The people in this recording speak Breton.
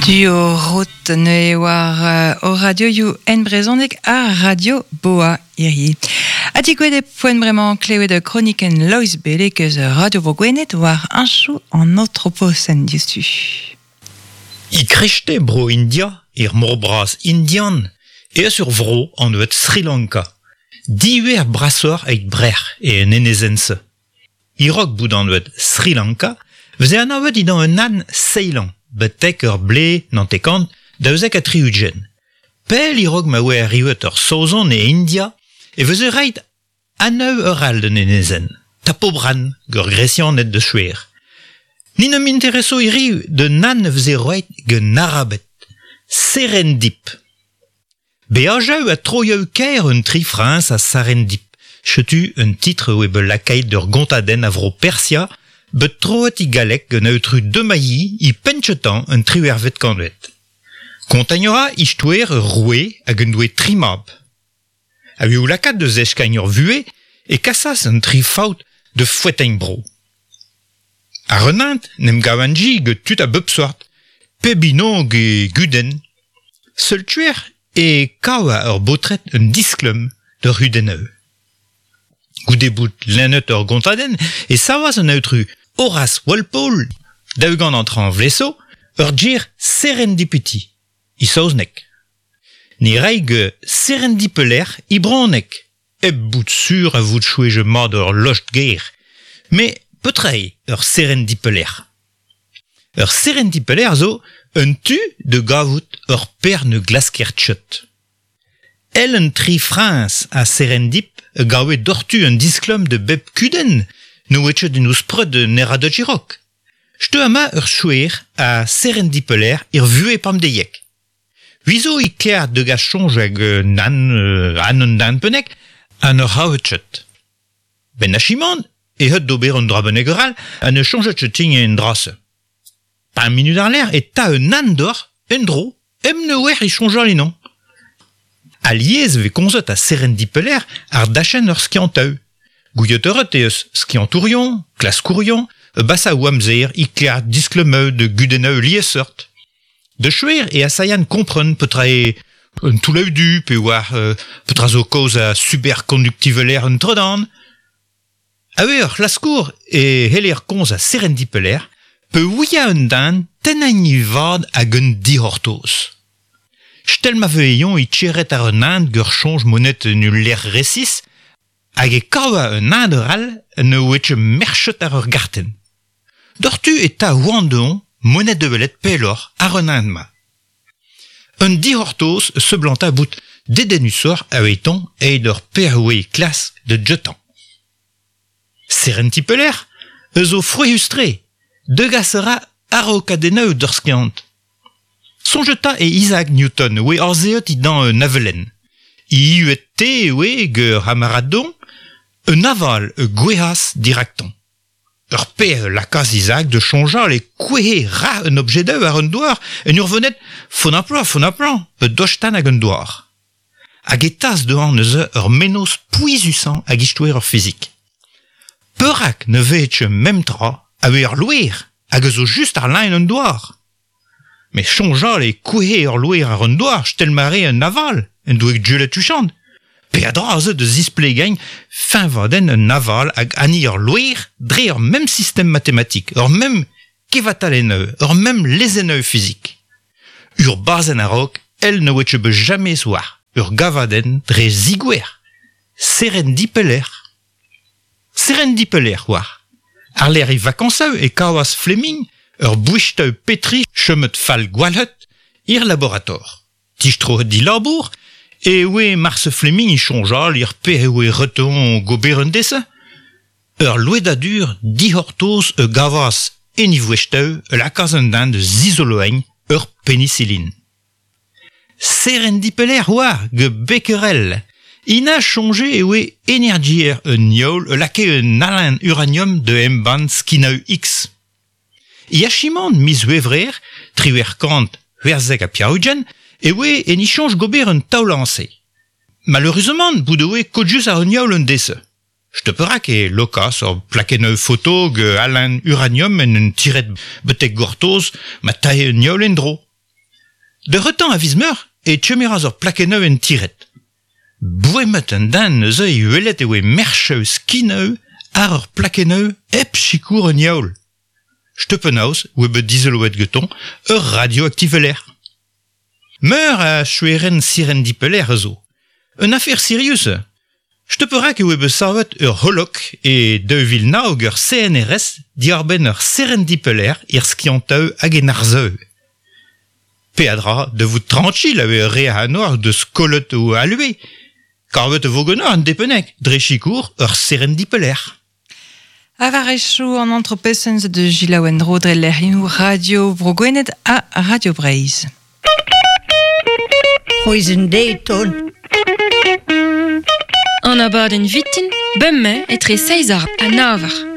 Duo rot ne war o radioioù en brezhoneg ha Radio Boa hirie. Ha digouet e poent bremañ klevet kronikenn Loeiz Beleg eus Radio Bro Gwened war añchoù an antroposen diouzhtu. E krechte bro India, er mor bras indian, e eus ur vro anvet Sri Lanka. Diwer brasoc'h eit brec'h e en enezenn-se. E-raok bout anvet Sri Lanka, veze anavet dindan un anv Ceylan, betek ur blez nantekant 72. Pell e-raok ma oa arrivet ur Saozon e India e veze reit anv ur all d'un enezenn, Tapobran, gant Gresianed da skouer. Ni n'am intereso hiriv d'un anv veze roet gant Arabed, Serendip. Beajoù ha troioù kaer un tri friñs a Sarendip. Setu un titr oe bet lakaet d'ur gontadenn a vro Persia, bet troet e galleg gant aotrou Demailly e penn-kentañ an triwec'hvet kantved. Kontañ a ra istoer ur roue hag en doe tri mab. A-wechoù lakaat da zeskiñ ur vuhez e kasas an tri faotr da foetañ bro. Ar un hent n'em gavan-ji gant tud a bep seurt, pep hini e gudenn. Seul tuer e kava ur baotred un disklum d'ur c'hudennoù. Goude bout lennet ur gontadenn e savas an aotrou Horace Walpole, daougant an traoñ vleso, ur ger serendipity, e saozneg. Ne ray ket serendipelec'h e bronneg, hep bout sur a vout chouezhet mat ur lost-ger. Met petra eo ur serendipelec'h? Ur serendipelec'h zo un tu da gavout ur per ne glasker ket. Èl an tri friñs a Serendip a gave doc'htu un disklom da bep kudenn ne oa ket en o spreud ne ra da Girok. Setu amañ ur skouer a Serendipelec'h er vuhez pemdeiek. Vizo e kêr degas soñj hag nann an un den pennek ha ne c'havet ket. Benn achimant e heut d'ober un dra bennak all ha ne soñjet ket din en dra-se. Pemp minut àr-lerc'h e ta un andor en-dro hep ne oer e soñjal ennañ. Alies e vez komzet a serendipelec'h àr dachenn ur skiantoù. Gouiet ret eo eus skiantourion, klaskourion, basaoù amzer e-kerzh disklemoù da gudennoù liesseurt. Da skouer e asailhan kompren petra eo un toullaoù du pe war petra zo kaoz a superkonduktiveler un tredan. A-wech ur c'hlaskour e c'heller komz a serendipelec'h peurvuiañ un den tennañ e vad hag un dic'hortoz. Stel ma vez-eñ e tcheret àr un hent ur soñj monet en ul lec'h resis hag e kava un hent arall ne oa ket merchet àr ur gartenn. Doc'htu e ta oan dezhañ monet da welet pelloc'h àr un hent-mañ. Un dic'hortoz seblanta bout dedennusoc'h avetoñ e'it ur perroù klask da jetañ. Serentiñ pelec'h eus zo frouezhus-tre, degas a ra araokadennoù d'ur skiant. Soñjet 'ta e Isaac Newton oe azeet dindan un avelenn. Ihuet-te e oe gant ur c'hamarad-don, un aval gouezhas diraktañ. Ur pezh lakaas Isaac da soñjal e kouezhe rac'h un objedoù war an douar en ur vonet fonnaplañ fonnaplañ pe dostan ag an douar. Hag e tas dezhañ neuze ur mennozh pouezusañ ag istoer ur fizik. Perak ne vehe ket mem tra a-wech ar loer hag a zo just àr lein an douar? Met soñjal e kouezhe ur loer àr an douar stel ma rae un aval en doe gellet tuchant. Peadra aze da zisplegañ fiñvadenn un aval hag hani ur loer dre ur mem sistem matematik, ur mem kevatalennoù, ur mem lezennoù fizik. Ur bazenn a-raok èl ne oa ket bet james war ur gavadenn dre zigouer. Serendipelec'h. Serendipelec'h war. Àr-lerc'h e vakañsoù e kavas Fleming ur bouestaoù Petri chomet fall gwalc'het er laborator. Distroet dilabour e oe marse Fleming e soñjal er pezh e oe reton gober un dese. Ur louedadur dic'hortoz a gavas en e voestaoù a lakaas an den da zizoloeiñ ur penisilin. Serendipelec'h oa gant Becquerel. Ina soñje e oe energier un heol a lakae un halen uranium da embann skinoù X. E achimant miz C'hwevrer 1878 e oe en e soñj gober un taol-añse. Maleüruzamant bout e oe kozhus àr un heol un deiz-se. Setu perak e lokas ur plakennoù foto gant halen uranium en un tired betek gortoz ma tae un heol en-dro. De retan a viz meur e tchemeraz ur plakenneu en tiret. Boemet an den neuze e welet e oe mercheu skineu ar ur plakenneu hep sikour un yaoul. Steupenaos oe bet dizeloet geton ur radioaktiveler. Meur a choueren sirendipeler zo. Un affaire sirius. Steuperak e oe bet savet ur holok e 2009 ur CNRS diarbenn ur serendipeler ir skianteu hag en arzeu. Peadra de vout tranquil a re a de skolet ou alue. Karvet vo ganeoc'h an depenek, dre chikour ur serendipeler. Avarechou an entrepesens de Gilles dre lec'hioù Radio Bro Gwened ha Radio Breizh. C'hwezh de ton. An abadenn vitin, bemmañ etre 6 ar ha navar.